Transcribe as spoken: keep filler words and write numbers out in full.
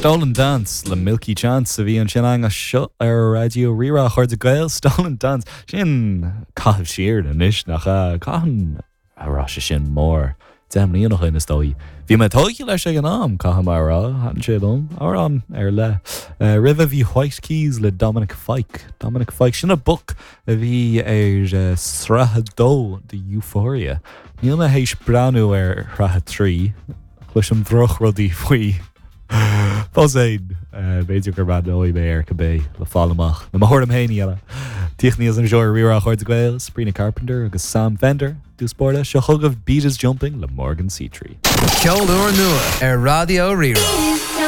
Stolen Dance le Milky Chance a bhí ansin anseo ar Raidió Rí-Rá chairde Gael Stolen Dance sin caitheamh siar anois nach cathain a raibh sé sin mór deich mbliana ó shin is dóigh. Bhí mé tógtha leis ag an am caithfidh mé a rá thaitin sé liom amhrán ar leith. Uh, Roimhe bhí White Keys le Dominic Fike. Dominic Fike sin an boc a bhí ar uh, sraith a dó de Euphoria. Níl mé théis breathnú ar shraith a trí cloisim drochrudaí faoi. Fós féin b'fhéidir go mbreathnóidh mé air cibé le fáil amach na mo thuairim féin eile. Tíoch níos an seoir Rí-Rá chairde Gael, Sabrina Carpenter agus Sam Fender, dúspóla seo chugaibh Beat is Jumping le Morgan Seatree. Ceol úrnua ar Raidió Rí-Rá.